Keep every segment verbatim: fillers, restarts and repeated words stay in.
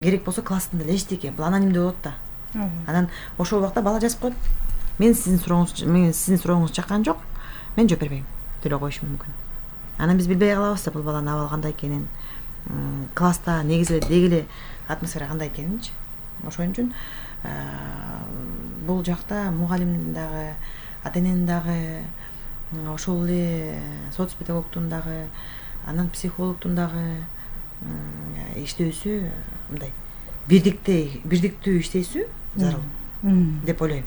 керек болсо класстын эле эчтеке бул анонимдүү болот да. Анан ошол убакта бала жазып коет. Мен сиздин сурооңуз мен сиздин сурооңузду чаккан жок. Мен жооп бербейм деп эле коюшу мүмкүн. Анан биз билбей калабыз да бул баланын абалы кандай экенин, класста негизи эле деги эле атмосфера кандай экенинчи. Ошон үчүн бул жакта мугалимдин дагы, ата эненин дагы, ошол эле соц педагогдун дагы, анан психологдун дагы иштөөсү мындай бирдикте бирдиктүү иштесү зарыл деп ойлойм.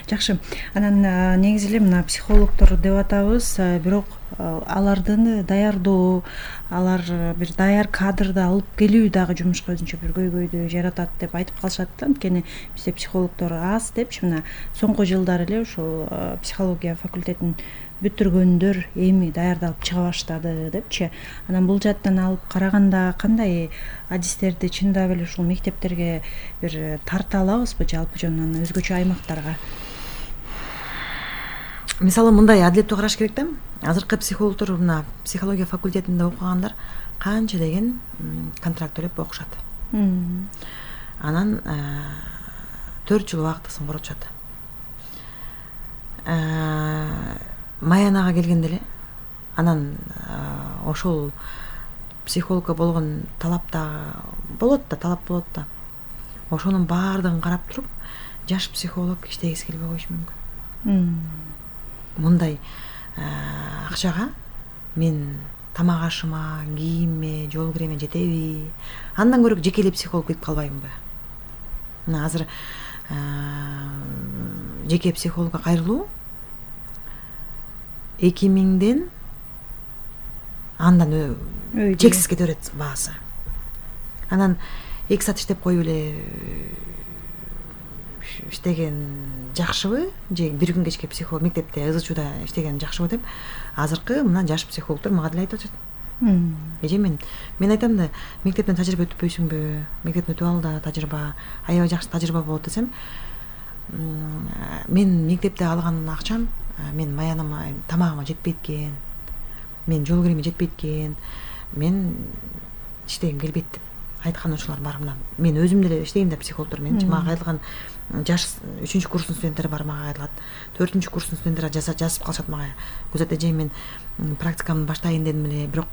Жакшы. Анан негизи эле мына психологдор деп атабыз, бирок аларды даярдоо, алар бир даяр кадрды алып келүү дагы жумушка өзүнчө бир көйгөйдү жаратат деп айтып калышат да. Анткени бизде психологдор аз депчи, мына соңку жылдары эле ушул психология факультетин бүтүргөндөр эми даярдалып чыга баштады депчи. Анан бул жаттан алып караганда кандай адистерди чындап эле ушул мектептерге бир тарта алабызбы жалпы жонунан өзгөчө аймактарга? Мисалы мындай адилеттүү караш керек да. Азыркы психологдор мына психология факультетинде окугандар канча деген контракт төлөп окушат. Анан төрт жыл убактысын коротушат. Маянага келгенде эле анан ошол психологко болгон талап да болот да, талап болот да. Ошонун баардыгын карап туруп, жаш психолог иштегиси келбей коюшу мүмкүн. Мындай акчага мен тамак ашыма, кийимиме, жол киреме жетеби? Андан көрө жеке эле психолог кетип калбаймынбы? Мына азыр жеке психологко кайрылуу эки миңден андан чексиз кете берет баасы. Анан эки саат иштеп коюп эле иштеген жакшыбы же бир күн кечке психолог мектепте ыз чууда иштеген жакшыбы деп азыркы мына жаш психологдор мага деле айтып атышат. Эже мен мен айтам да, мектептен тажрыйба өтпөйсүңбү? Мектептен өтүп ал да тажрыйба, аябай жакшы тажрыйба болот десем, мен мектепте алган акчам мен маяныма, тамагыма жетпейт экен, мен жол киреме жетпейт экен, мен иштегим келбейт деп айткан учурлар бар. Мына мен өзүм деле иштейм да психологдор менчи. Мага кайрылган жаш үчүнчү курстун студенттери бар, мага кайрылат. төртүнчү курстун студенттери жазып калышат мага. Күзөт эже, мен практикамды баштайын дедим эле, бирок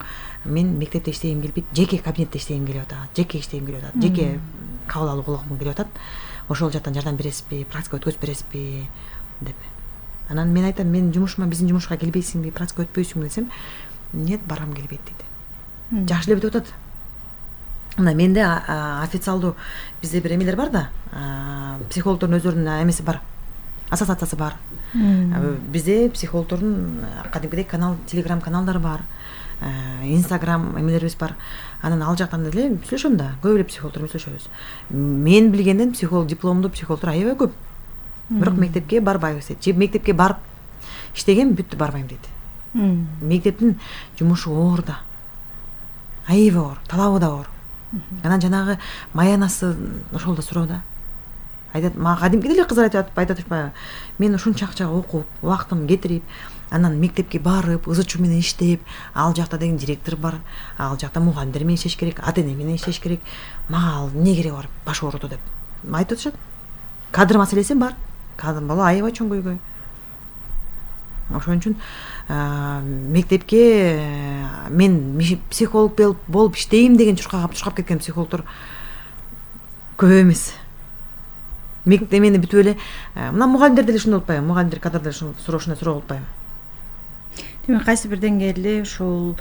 мен мектепте иштегим келбейт, жеке кабинетте иштегим келип атат, жеке иштегим келип атат, жеке кабыл алуу кылгым келип атат. Ошол жактан жардам бересизби, практика өткөзүп бересизби деп. Анан мен айтам, мен жумушума, биздин жумушка келбейсиңби, практика өтпөйсүңбү десем, нет, барам келбейт дейт. Жакшы эле бүтүп атат. Мына менде официалдуу бизде бир эмелер бар да, психологдордун өздөрүнүн эмеси бар, ассоциациясы бар. Бизде психологдордун кадимкидей канал, телеграм каналдары бар, инстаграм эмелерибиз бар. Анан ал жактан деле сүйлөшөм да, көп эле психологдор менен сүйлөшөбүз. Мен билгенден психолог, дипломдуу психологдор аябай көп. Бирок мектепке барбайбыз дейт. Же мектепке барып иштеген, бүттү, барбайм дейт. Мектептин жумушу оор да. Аябай оор, талабы да оор. Анан жанагы маянасы ошол да суроо да. Айтат, мага кадимкидей эле кыздар айтып атышпайбы? Мен ушунча акчага окуп, убактымды кетирип, анан мектепке барып, ызы чуу менен иштеп, ал жакта деген директор бар, ал жакта мугалимдер менен иштеш керек, ата эне менен иштеш керек. Мага ал эмне кереги бар, баш ооруту деп айтып атышат. Кадр маселеси бар. Кадр бала аябай чоң көйгөй. Ошон үчүн мектепке мен психолог болуп иштейм деген чуркап чуркап кеткен психологдор көп эмес. Мектепти бүтүп эле, мына мугалимдер деле ушундай болуп атпайбы? Мугалимдер, кадрдар ушундай суроо болуп атпайбы? Демек, кайсы бир деңгээлде ушул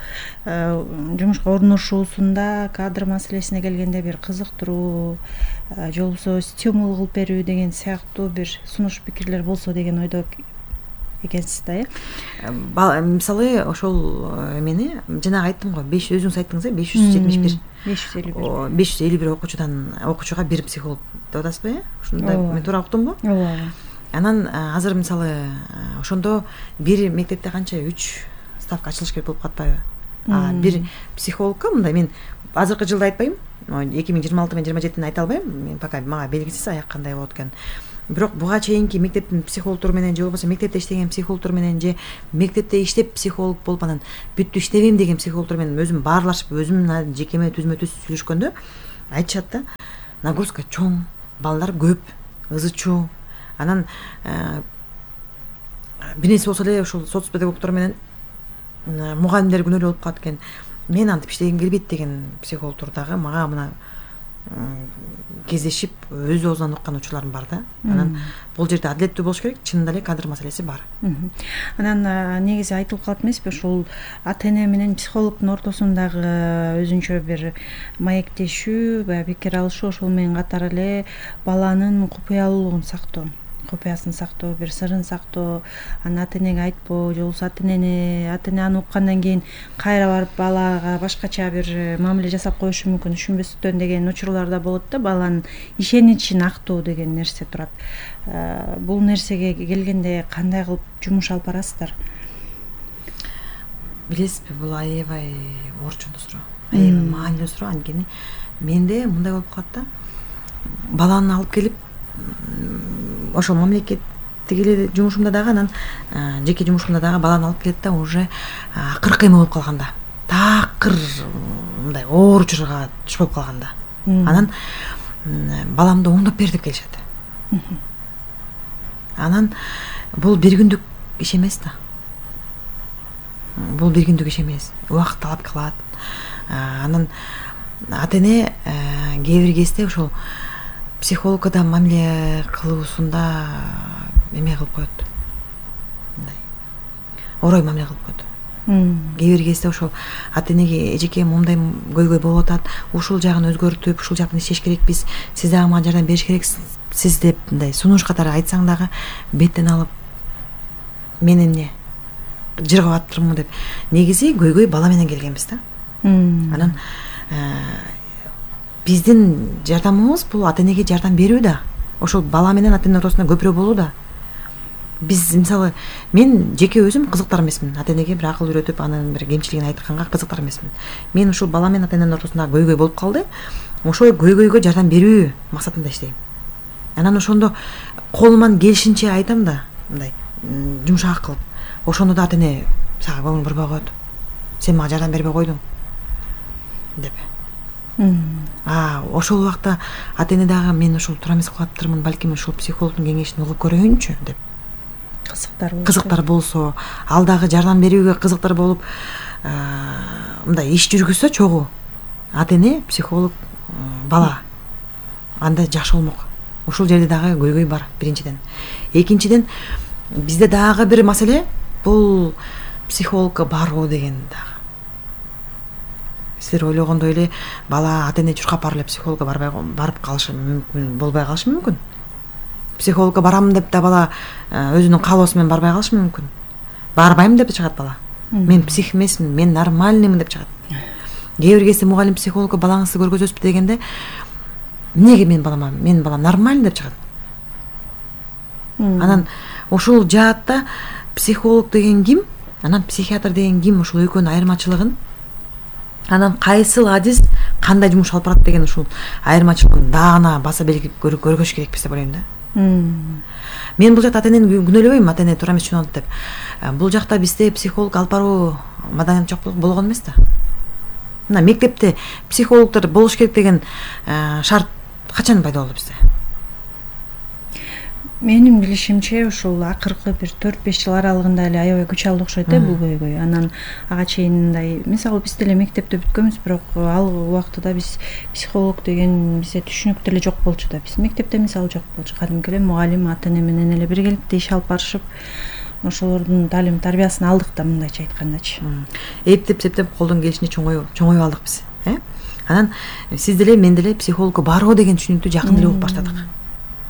жумушка орношуусунда кадр маселесине келгенде бир кызыктыруу, же болбосо стимул кылып берүү деген сыяктуу бир сунуш пикирлер болсо деген ойдо экенсиз да, э? Мисалы ошол эмени жана айттым го, беш өзүңүз айттыңыз, беш жүз жетимиш бир беш жүз элүү бир беш жүз элүү бир окуучудан окуучуга бир психолог деп атасызбы, э? Ушундай мен туура уктумбу? Ооба. Анан азыр мисалы ошондо бир мектепте канча үч ставка ачылыш керек болуп катпайбы? Бир психологко мындай мен азыркы жылды айтпайм, эки миң жыйырма алты менен жыйырма жетини айта албайм, мен пока мага белгисиз аяк кандай болот экен. Бирок буга чейинки мектептин психологдору менен же болбосо мектепте иштеген психологдор менен же мектепте иштеп психолог болуп анан бүттү иштебейм деген психологдор менен өзүм баарлашып, өзүм жекеме түзмө түз сүйлөшкөндө айтышат да, нагрузка чоң, балдар көп, ызы чуу. Анан бир нерсе болсо эле ушул соц педагогдор менен мугалимдер күнөөлүү болуп калат экен. Мен антип иштегим келбейт деген психологдор дагы мага мына кездешип өз оозунан уккан учурларым бар да. Анан бул жерде адилеттүү болуш керек, чынында эле кадр маселеси бар. Анан негизи айтылып калат эмеспи, ушул ата эне менен психологдун ортосундагы өзүнчө бир маектешүү, баягы пикир алышуу, ошол менен катар эле баланын купуялуулугун сактоо, купуясын сактоо, бир сырын сактоо, аны ата энеге айтпоо, же болбосо ата энени ата эне аны уккандан кийин кайра барып балага башкача бир мамиле жасап коюшу мүмкүн, түшүнбөстөн деген учурлар да болот да. Баланын ишеничин актоо деген нерсе турат. Бул нерсеге келгенде кандай кылып жумуш алып барасыздар? Билесизби, бул аябай орчундуу суроо, аябай маанилүү суроо. Анткени менде мындай болуп калат да, баланы алып келип ошол мамлекеттик эле жумушумда дагы, анан жеке жумушумда дагы баланы алып келет да, уже акыркы эме болуп калганда, такыр мындай оор учурга туш болуп калганда, анан баламды оңдоп бер деп келишет. Анан бул бир күндүк иш эмес да. Бул бир күндүк иш эмес. Убакыт талап кылат. Анан ата эне кээ бир кезде ошол психологда мамиле кылуусунда эме кылып коет. Мындай орой мамиле кылып коет. Кээ бир кезде ошол ата энеге эжеке момундай көйгөй болуп атат, ушул жагын өзгөртүп, ушул жактан иштеш керекпиз, сиз дагы мага жардам бериш керексиз деп мындай сунуш катары айтсаң дагы беттен алып мен эмне жыргап атырмын деп. Негизи көйгөй бала менен келгенбиз да. Анан биздин жардамыбыз бул ата энеге жардам берүү да. Ошол бала менен ата эне ортосунда көпүрө болуу да. Биз мисалы мен жеке өзүм кызыктар эмесмин. Ата энеге бир акыл үйрөтүп, анын бир кемчилигин айтканга кызыктар эмесмин. Мен ушул бала менен ата эненин ортосунда көйгөй болуп калды. Ошол көйгөйгө жардам берүү максатында иштейм. Анан ошондо колуман келишинче айтам да, мындай жумшак кылып. Ошондо да ата эне сага көңүл бурбай коет. Сен мага жардам бербей койдуң деп. А ошол убакта ата эне дагы мен ушул туура эмес кылаптырмын, балким ушул психологдун кеңешин угуп көрөйүнчү деп. Кызыктар болсо. Кызыктар болсо, ал дагы жардам берүүгө кызыктар болуп, мындай иш жүргүзсө чогуу ата эне, психолог, бала анда жакшы болмок. Ушул жерде дагы көйгөй бар биринчиден. Экинчиден бизде дагы бир маселе бул психологко баруу деген дагы. Силер ойлогондой эле бала ата эне чуркап барып эле психологко барбай барып калышы мүмкүн, болбой калышы мүмкүн. Психологко барам деп да бала өзүнүн каалоосу менен барбай калышы мүмкүн. Барбайм деп чыгат бала. Мен псих эмесмин, мен нормальныймын деп чыгат. Кээ бир кезде мугалим психологко балаңызды көргөзөсүзбү дегенде эмнеге мен балама, менин балам нормальный деп чыгат. Анан ушул жаатта психолог деген ким, анан психиатр деген ким, ушул экөөнүн айырмачылыгын, анан кайсыл адис кандай жумуш алып барат деген ушул айырмачылыгын даана баса белгилеп көргөзүш керекпиз деп ойлойм да. Мен бул жакта ата энени күнөөлөбөйм, ата эне туура эмес түшүнөт деп. Бул жакта бизде психолог алып баруу маданият жок болгон эмес да. Мына мектепте психологдор болуш керек деген шарт качан пайда болду бизде? Менин билишимче ушул акыркы бир төрт беш жыл аралыгында эле аябай күч алды окшойт э бул көйгөй. Анан ага чейин мындай, мисалы биз деле мектепте бүткөнбүз, бирок ал убактыда биз психолог деген бизде түшүнүктө эле жок болчу да. Биз мектепте мисалы жок болчу. Кадимки эле мугалим ата эне менен эле биргеликте иш алып барышып, ошолордун талим тарбиясын алдык да, мындайча айткандачы. Эптеп септеп колдон келишинче чоңоюп, чоңоюп алдык биз, э? Анан сиз деле мен деле психологко баруу деген түшүнүктү жакын эле угуп баштадык.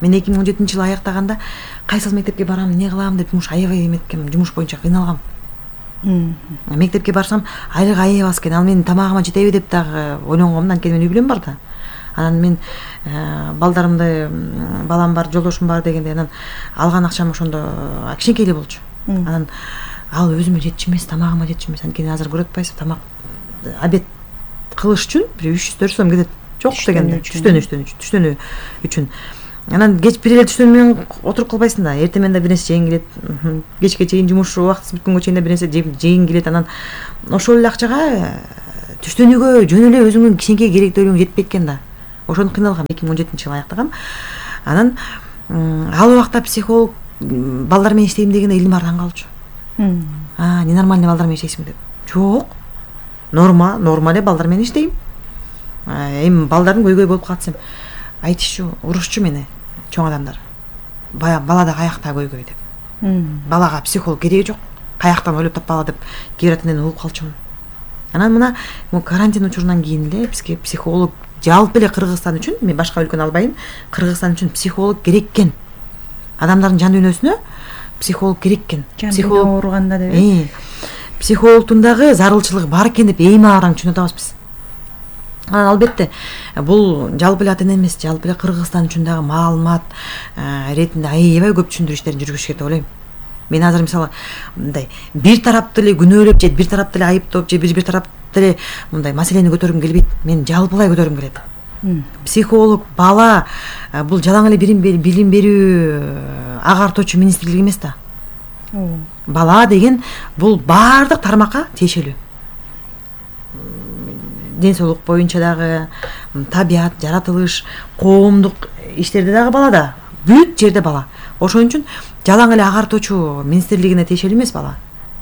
Мен эки миң он жетинчи жылы аяктаганда кайсыл мектепке барам, эмне кылам деп жумуш аябай эметкем, жумуш боюнча кыйналгам. Мектепке барсам айлык аябай аз экен, ал менин тамагыма жетеби деп дагы ойлонгом, анткени менин үй бүлөм бар да. Анан мен балдарымды, балам бар, жолдошум бар дегенде, анан алган акчам ошондо кичинекей эле болчу. Анан ал өзүмө жетчү эмес, тамагыма жетчү эмес, анткени азыр көрүп атпайсызбы, тамак обед кылыш үчүн бир үч жүз төрт жүз сом кетет. Жок дегенде түштөн үчтөн түштөнү үчүн. Анан кеч бир эле түштөн менен отуруп калбайсың да, эртең менен да бир нерсе жегиң келет, кечке чейин жумуш убактысы бүткөнгө чейин да бир нерсе жегиң келет. Анан ошол эле акчага түштөнүүгө жөн эле өзүңдүн кичинекей керектүүлүгүң жетпейт экен да. ошону кыйналгам. эки миң он жетинчи жылы аяктагам. Анан ал убакта психолог балдар менен иштейм дегенде илим ардан калчу. А, ненормальный балдар менен иштейсиң деп. Жок. Норма, норма эле балдар менен иштейм. Эми балдардын көйгөй болуп калсам, айтышчу, урушчу мени чоң адамдар. Бая балада каякта көйгөй деп. Балага психолог кереги жок. Каяктан ойлоп таппагыла деп кээ бир ата энени угуп калчумун. Анан мына карантин учурунан кийин эле бизге психолог жалпы эле Кыргызстан үчүн, мен башка өлкөнү албайын, Кыргызстан үчүн психолог керек экен. Адамдардын жан дүйнөсүнө психолог керек экен. Психолог ооруганда деп. Э. Психологдун дагы зарылчылыгы бар экен деп эми араң түшүнүп атабыз биз. Анан албетте бул жалпы эле ата эне эмес, жалпы эле Кыргызстан үчүн дагы маалымат иретинде аябай көп түшүндүрүү иштерин жүргүзүш керек деп ойлойм. Мен азыр мисалы мындай бир тараптуу эле күнөөлөп же бир тараптуу эле айыптоп же бир бир тараптуу эле мындай маселени көтөргүм келбейт. Мен жалпылай көтөргүм келет. Психолог бала бул жалаң эле билим берүү агартуучу министрлик эмес да. Бала деген бул баардык тармакка тиешелүү. Ден соолук боюнча дагы, табият, жаратылыш, коомдук иштерде дагы бала да. Бүт жерде бала. Ошон үчүн жалаң эле агартуучу министрлигине тиешелүү эмес бала.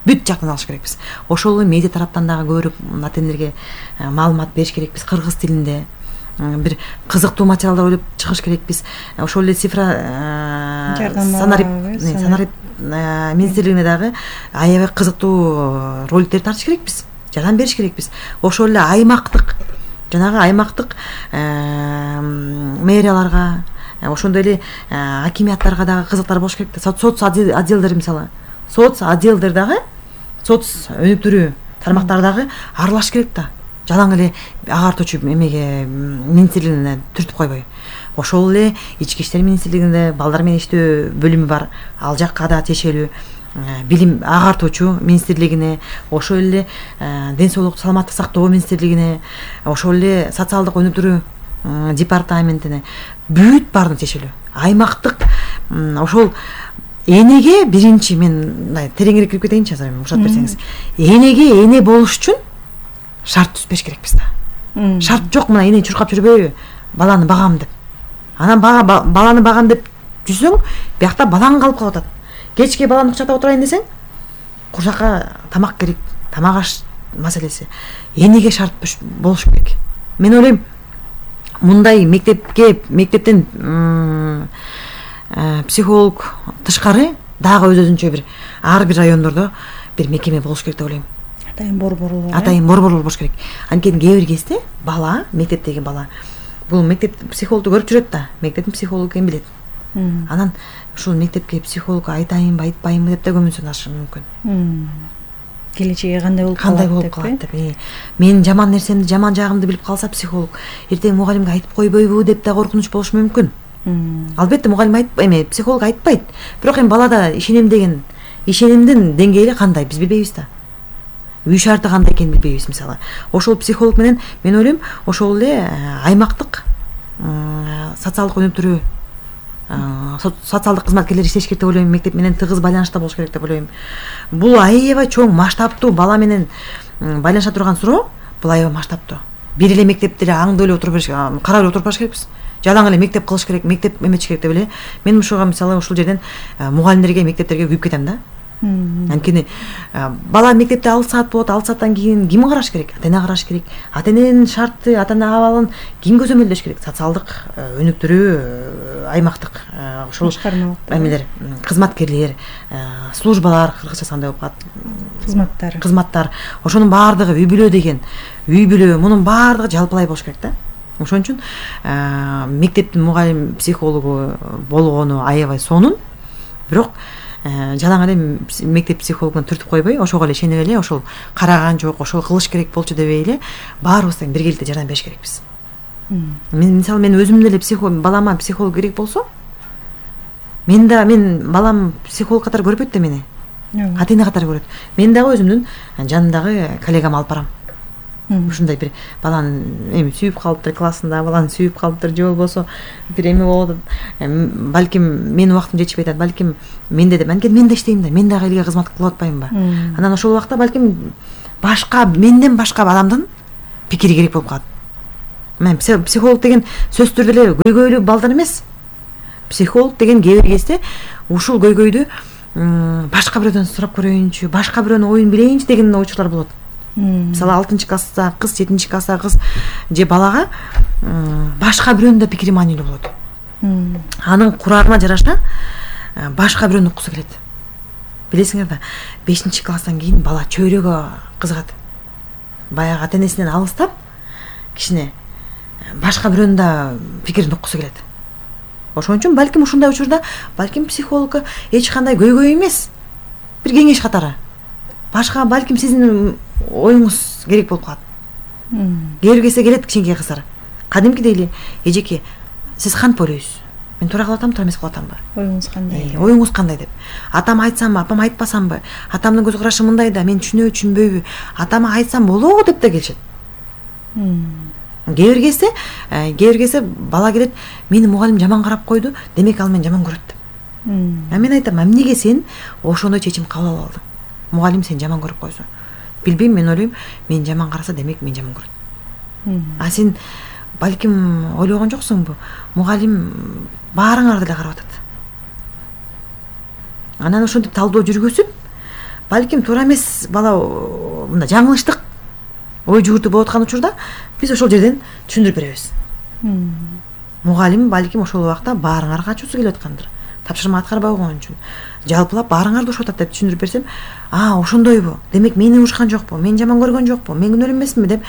Бүт жактан алыш керекпиз. Ошол эле медиа тараптан дагы көрүп ата энелерге маалымат бериш керекпиз кыргыз тилинде. Бир кызыктуу материалдар ойлоп чыгыш керекпиз. Ошол эле цифра санарип санарип министрлигине дагы аябай кызыктуу роликтер тартыш керекпиз. Жардам бериш керекпиз. Ошол эле аймактык жанагы аймактык мэрияларга, ошондой эле акимияттарга дагы кызыктар болуш керек да. Соц отделдер мисалы. Соц отделдер дагы, соц өнүктүрүү тармактар дагы аралаш керек да. Жалаң эле агартуучу эмеге министрлигине түртүп койбой. Ошол эле ички иштер министрлигинде балдар менен иштөө бөлүмү бар. Ал жакка да тиешелүү билим агартуучу министрлигине, ошол эле ден соолук саламаттык сактоо министрлигине, ошол эле социалдык өнүктүрүү департаментине бүт баардыгына тиешелүү. Аймактык ошол энеге биринчи мен мындай тереңирээк кирип кетейинчи азыр, уруксат берсеңиз. Энеге эне болуш үчүн шарт түзбөш керекпиз да. Шарт жок, мына энени чуркап жүрбөйбү, баланы багам деп. Анан баланы багам деп жүрсөң, биякта балаң калып калып атат. Кечке баланы кучактап отурайын десең, курсакка тамак керек, тамак аш маселеси. Энеге шарт болуш керек. Мен ойлойм, мындай мектепке, мектептен психолог тышкары дагы өз-өзүнчө бир ар бир райондордо бир мекеме болуш керек деп ойлойм. Атайын борборлор. Атайын борборлор болуш керек. Анткени кээ бир кезде бала, мектептеги бала, бул мектеп психологду көрүп жүрөт да, мектептин психологу экенин билет. Анан ушул мектепке психологко айтайынбы, айтпайынбы деп да көмүнсүнүшү мүмкүн. Келечеги кандай болуп калат кандай болуп калат деп. Мен жаман нерсемди, жаман жагымды билип калса психолог, эртең мугалимге айтып койбойбу деп да коркунуч болушу мүмкүн. Албетте мугалим айтпайт, эме психолог айтпайт. Бирок эми балада ишенем деген ишенимдин деңгээли кандай биз билбейбиз да. Үй шарты кандай экенин билбейбиз мисалы. Ошол психолог менен мен ойлойм, ошол эле аймактык социалдык өнүктүрүү социалдык кызматкерлер иштеш керек деп ойлойм, мектеп менен тыгыз байланышта болуш керек деп ойлойм. Бул аябай чоң масштабтуу бала менен байланыша турган суроо, бул аябай масштабтуу. Бир эле мектепте эле аңдып эле отуруп бериш, карап эле отуруп барыш керекпиз. Жалаң эле мектеп кылыш керек, мектеп эметиш керек деп эле. Мен ушуга мисалы ушул жерден мугалимдерге, мектептерге күйүп кетем да. Анткени бала мектепте алты саат болот, алты сааттан кийин ким караш керек? Ата эне караш керек. Ата эненин шарты, ата эне абалын ким көзөмөлдөш керек? Социалдык өнүктүрүү аймактык ошол эмелер, кызматкерлер, службалар, кыргызча кандай болуп калат? Кызматтар. Кызматтар. Ошонун баардыгы үй бүлө деген. Үй бүлө, мунун баардыгы жалпылай болуш керек да. Ошон үчүн мектептин мугалим психологу болгону аябай сонун. Бирок жалаң эле мектеп психологуна түртүп койбой, ошого эле ишенип эле, ошол караган жок, ошол кылыш керек болчу дебей эле, баарыбыз тең биргеликте жардам бериш керекпиз. Мен мисалы мен өзүм деле психолог, балама психолог керек болсо, мен да мен балам психолог катары көрбөйт да мени. Ата эне катары көрөт. Мен дагы өзүмдүн жанымдагы коллегам алып барам. Ушундай бир баланы эми сүйүп калыптыр, классында баланы сүйүп калыптыр, же болбосо бир эме болот. Балким менин убактым жетишпей атат, балким менде деп, анткени мен да иштейм да, мен дагы элге кызмат кылып атпаймынбы? Анан ошол убакта балким башка менден башка адамдын пикири керек болуп калат. мен психолог деген сөзсүз түрдө эле көйгөйлүү балдар эмес. Психолог деген кээ бир кезде ушул көйгөйдү башка бирөөдөн сурап көрөйүнчү, башка бирөөнүн оюн билейинчи деген ойчулар болот. Мисалы алтынчы класста кыз, жетинчи класста кыз же балага башка бирөөнүн да пикири маанилүү болот. Анын курарына жараша башка бирөөнү уккусу келет. Билесиңер да, бешинчи класстан кийин бала чөйрөгө кызыгат. Баягы ата энесинен алыстап, кичине башка бирөөнүн да пикирин уккусу келет. Ошон үчүн балким ушундай учурда балким психологко эч кандай көйгөй эмес, бир кеңеш катары. Башка балким сиздин оюңуз керек болуп калат. Кээ бир кезде келет кичинекей кыздар. Кадимкидей эле эжеке, сиз кантип ойлойсуз? Мен туура кылып атамбы, туура эмес кылып атамбы? Оюңуз кандай? Оюңуз кандай деп. Атам айтсамбы, апам айтпасамбы? Атамдын көз карашы мындай да, мен түшүнөбү, түшүнбөйбү? Атама айтсам болобу деп да келишет. Кээ бир кезде, кээ бир кезде бала келет, мени мугалим жаман карап койду, демек ал мени жаман көрөт деп. А мен айтам, эмнеге сен ошондой чечим кабыл алып алдың? Мугалим сени жаман көрүп койсо. Билбейм, мен ойлойм, мени жаман караса, демек мени жаман көрөт. А сен балким ойлогон жоксуңбу? Мугалим баарыңарды эле карап атат. Анан ошентип талдоо жүргүзүп, балким туура эмес бала мындай жаңылыштык ой жүгүртүү болуп аткан учурда биз ошол жерден түшүндүрүп беребиз. Мугалим балким ошол убакта баарыңарга ачуусу келип аткандыр. Тапшырма аткарбай койгон үчүн. Жалпылап баарыңарды урушуп атат деп түшүндүрүп берсем, а, ошондойбу. Демек мени урушкан жокпу, мени жаман көргөн жокпу, мен күнөөлүү эмесминби деп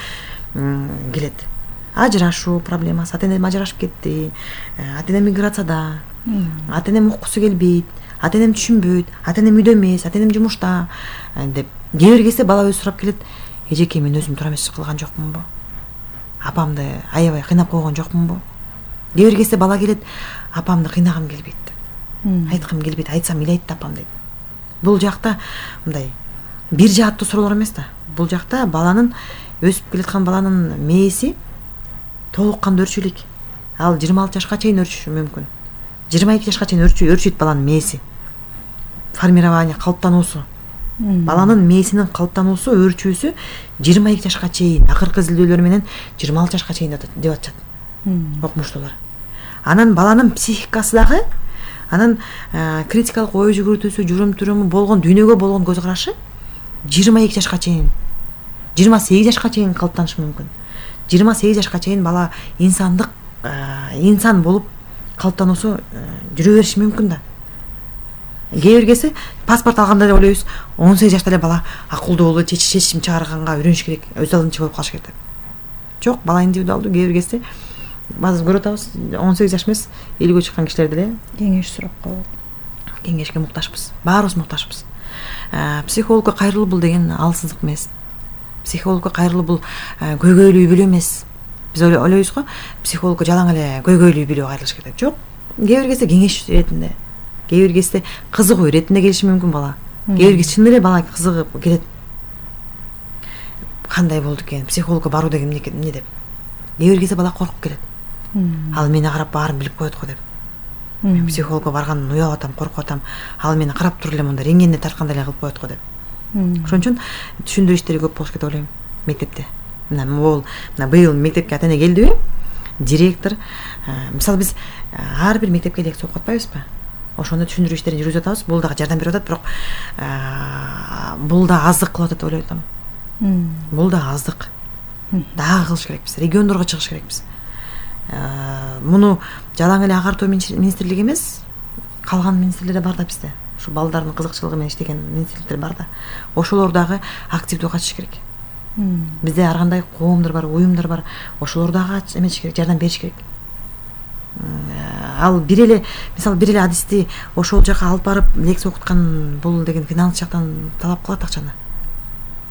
келет. Ажырашуу проблемасы, ата энем ажырашып кетти, ата энем миграцияда, ата энем уккусу келбейт, ата энем түшүнбөйт, ата энем үйдө эмес, ата энем жумушта деп. Кээ бир кезде бала өзү сурап келет, эжеке, мен өзүм туура эмес кылган жокмунбу? Апамды аябай кыйнап койгон жокмунбу? Кээ бир кезде бала келет, апамды кыйнагым келбейт деп. Айткым келбейт, айтсам ыйлайт да апам дейт. Бул жакта мындай бир жааттуу суроолор эмес да. Бул жакта баланын өсүп келаткан баланын мээси толук кандуу өрчүлүк. Ал жыйырма алты жашка чейин өрчүшү мүмкүн. жыйырма эки жашка чейин өрчү өрчүйт баланын мээси. Формирование, калыптануусу. Баланын мээсинин калыптануусу, өрчүүсү жыйырма эки жашка чейин, акыркы изилдөөлөр менен жыйырма алты жашка чейин деп атышат окумуштуулар. Анан баланын психикасы дагы, анан критикалык ой жүгүртүүсү, жүрүм-туруму болгон, дүйнөгө болгон көз карашы жыйырма эки жашка чейин, жыйырма сегиз жашка чейин калыптанышы мүмкүн. жыйырма сегиз жашка чейин бала инсандык инсан болуп калыптануусу жүрө бериши мүмкүн да. Кээ бир кезде паспорт алганда эле ойлойбуз, он сегиз жашта эле бала акылдуу болуп, чечим чыгарганга үйрөнүш керек, өз алдынча болуп калыш керек деп. Жок, бала индивидуалдуу. Кээ бир кезде баазы көрүп атабыз, он сегиз жаш эмес, элүүгө чыккан кишилер деле кеңеш сурап калат. Кеңешке муктажбыз. Баарыбыз муктажбыз. Психологко кайрылуу бул деген алсыздык эмес. Психологко кайрылуу бул көйгөйлүү үй бүлө эмес. Биз ойлойбуз го, психологко жалаң эле көйгөйлүү үй бүлө кайрылыш керек деп. Жок. Кээ бир кезде кеңеш иретинде, кээ бир кезде кызыгуу иретинде келиши мүмкүн бала. Кээ бир кезде чын эле бала кызыгып келет. Кандай болду экен, психологко баруу деген эмне деп. Кээ бир кезде бала коркуп келет. Ал мени карап баарын билип коет го деп. Мен психологко баргандан уялып атам, коркуп атам. Ал мени карап туруп эле мындай рентгенде тарткандай эле кылып коет го деп. Ошон үчүн түшүндүрүү иштери көп болуш керек деп ойлойм мектепте. Мына бул мына быйыл мектепке ата эне келдиби? Директор, мисалы биз ар бир мектепке лекция окуп атпайбызбы? Ошондо түшүндүрүү иштерин жүргүзүп атабыз. Бул дагы жардам берип атат, бирок бул да аздык кылып атат деп ойлойт атам. Бул да аздык. Дагы кылыш керекпиз. Региондорго чыгыш керекпиз. Муну жалаң эле агартуу министрлиги эмес, калган министрлер бар да бизде. Ушу балдардын кызыкчылыгы менен иштеген министрликтер бар да. Ошолор дагы активдүү катышыш керек. Бизде ар кандай коомдор бар, уюмдар бар. Ошолор дагы эметиш керек, жардам бериш керек. Ал бир эле, мисалы бир эле адисти ошол жака алып барып лекция окуткан бул деген финанс жактан талап кылат акчаны.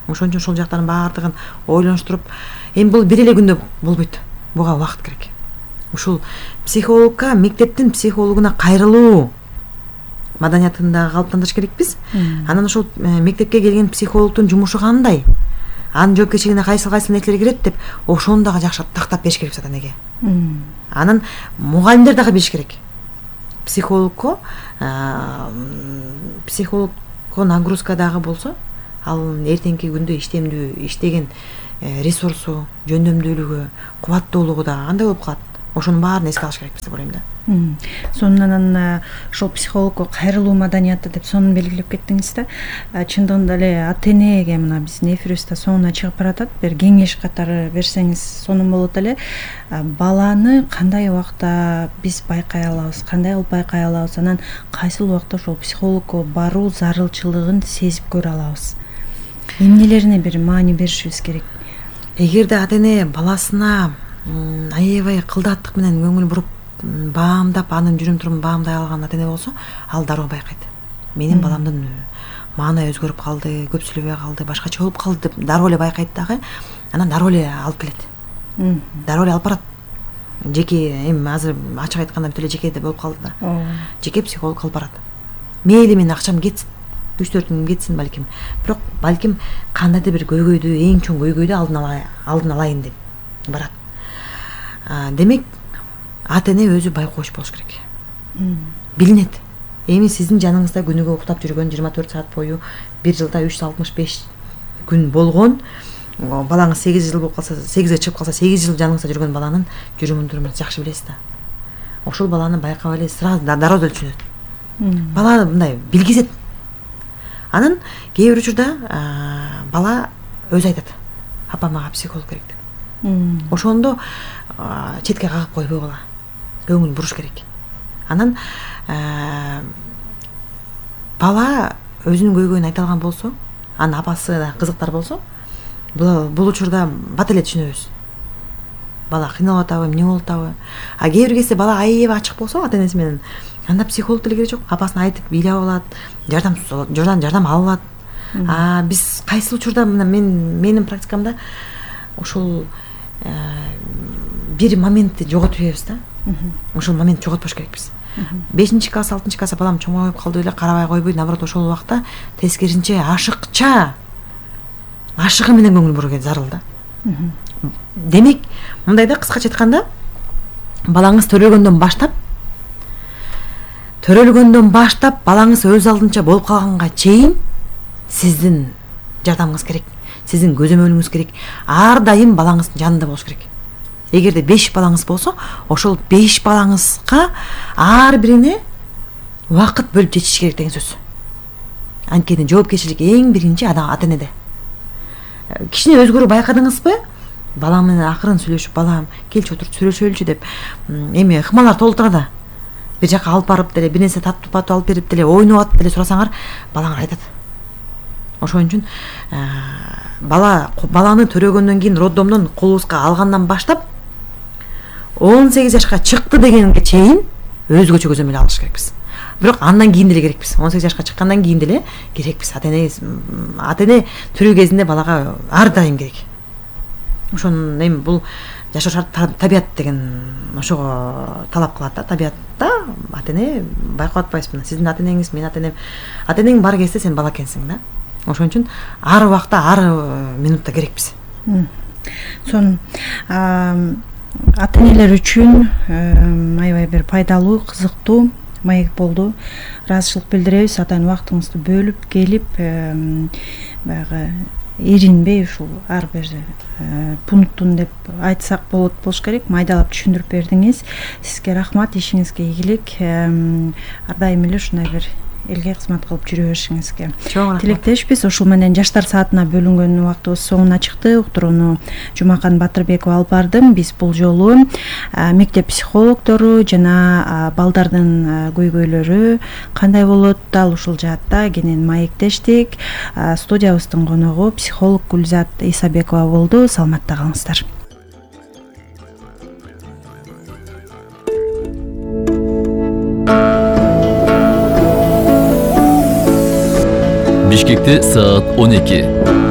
Ошон үчүн ошол жактардын баардыгын ойлонуштуруп, эми бул бир эле күндө болбойт. Буга убакыт керек. Ушул психологко, мектептин психологуна кайрылуу маданиятын да калыптандырыш керекпиз. Анан ошол мектепке келген психологдун жумушу кандай? Анын жоопкерчилигине кайсы кайсы нерселер кирет деп ошону дагы жакшыртып тактап бериш керек ата энеге. Анан мугалимдер дагы билиш керек. Психологко психологко нагрузка дагы болсо, ал эртеңки күндө иштемдүү иштеген ресурсу, жөндөмдүүлүгү, кубаттуулугу да кандай болуп калат. Ошонун баарын эске алыш керекпиз деп ойлойм да. Сонун анан ошол психологко кайрылуу маданияты деп сонун белгилеп кеттиңиз да. Чындыгында эле ата энеге мына биздин эфирибизде соңуна чыгып баратат. Бир кеңеш катары берсеңиз сонун болот эле. Баланы кандай убакта биз байкай алабыз, кандай кылып байкай алабыз, анан кайсыл убакта ошол психологко баруу зарылчылыгын сезип көрө алабыз. Эмнелерине бир маани беришибиз керек. Эгерде ата эне баласына аябай кылдааттык менен көңүл буруп баамдап, анын жүрүм турумун баамдай алган ата эне болсо, ал дароо байкайт. Менин баламдын маанай өзгөрүп калды, көп сүйлөбөй калды, башкача болуп калды деп дароо эле байкайт дагы. Анан дароо эле алып келет. Дароо эле алып барат. Жеке эми азыр ачык айтканда бүт эле жекеде болуп калды да. Жеке психолог алып барат. Мейли менин акчам кетсин, үч төрт миң кетсин балким. Бирок балким кандайдыр бир көйгөйдү, эң чоң көйгөйдү алдын ала алдын алайын деп барат. Демек, ата эне өзү байкооч болуш керек. Билинет. Эми сиздин жаныңызда күнүгө уктап жүргөн жыйырма төрт саат бою бир жылда үч жүз алтымыш беш күн болгон, балаңыз сегиз жыл болуп калса, сегизге чыгып калса, сегиз жыл жаныңызда жүргөн баланын жүрүмүн турумун жакшы билесиз да. Ошол баланы байкап эле сразу дароо түшүнөт. Бала мындай билгизет. Анан кээ бир учурда бала өзү айтат: "Апа, мага психолог керек" деп. Ошондо четке кагып койбой бала көңүл буруш керек. Анан бала өзүнүн көйгөйүн айта алган болсо, анын апасы да кызыктар болсо, бул учурда бат эле түшүнөбүз. Бала кыйналып атабы, эмне болуп атабы. А кээ бир кезде бала аябай ачык болсо ата энеси менен, анда психолог деле керек жок. Апасына айтып бийлеп алат, жардам жардам жардам алат. А биз кайсы учурда мына мен менин практикамда ошол бир моментти жоготуп жиберебиз да. Ошол моментти жоготпош керекпиз. бешинчи класс, алтынчы класста балам чоңоюп калды эле, карабай койбой, наоборот ошол убакта тескерисинче ашыкча ашыгы менен көңүл буруу зарыл да. Демек, мындай да, кыскача айтканда, балаңыз төрөлгөндөн баштап төрөлгөндөн баштап балаңыз өз алдынча болуп калганга чейин сиздин жардамыңыз керек, сиздин көзөмөлүңүз керек. Ар дайым балаңыздын жанында болуш керек. Эгерде беш балаңыз болсо, ошол беш балаңызга ар бирине убакыт бөлүп жетиш керек деген сөз. Анткени жоопкерчилик эң биринчи ата энеде. Кичине өзгөрүү байкадыңызбы? Балам менен акырын сүйлөшүп, балам, келчи отуруп сүйлөшөлүчү деп, эми ыкмалар толтура да. Бир жака алып барып деле, бир нерсе таттып атып алып берип деле, ойноп атып деле сурасаңар, балаңар айтат. Ошон үчүн бала баланы төрөгөндөн кийин роддомдон колубузга алгандан баштап он сегиз жашка чыкты дегенге чейин өзгөчө көзөмөл алыш керекпиз. Бирок андан кийин деле керекпиз. он сегиз жашка чыккандан кийин деле керекпиз. Ата эне ата эне түрүү кезинде балага ар дайым керек. Ошон эми бул жашоо шарт табият деген ошого талап кылат да. Табиятта ата эне байкап атпайсызбы? Сиздин ата энеңиз, менин ата энем. Ата энең бар кезде сен бала экенсиң да. Ошон үчүн ар убакта, ар минутта керекпиз. Сонун. Ата энелер үчүн аябай бир пайдалуу, кызыктуу маек болду. Ыраазычылык билдиребиз. Атайын убактыңызды бөлүп келип, баягы эринбей ушул ар бир пунктун деп айтсак болот болуш керек, майдалап түшүндүрүп бердиңиз. Сизге рахмат, ишиңизге ийгилик. Ар дайым эле ушундай бир элге кызмат кылып жүрө беришиңизге тилектешпиз. Ушул менен жаштар саатына бөлүнгөн убактыбыз соңуна чыкты. Уктурууну Жумакан Батырбекова алып бардым. Биз бул жолу мектеп психологдору жана балдардын көйгөйлөрү кандай болот, дал ушул жаатта кенен маектештик. Студиябыздын коногу психолог Гүлзат Исабекова болду. Саламатта калыңыздар. Бишкекте саат он эки.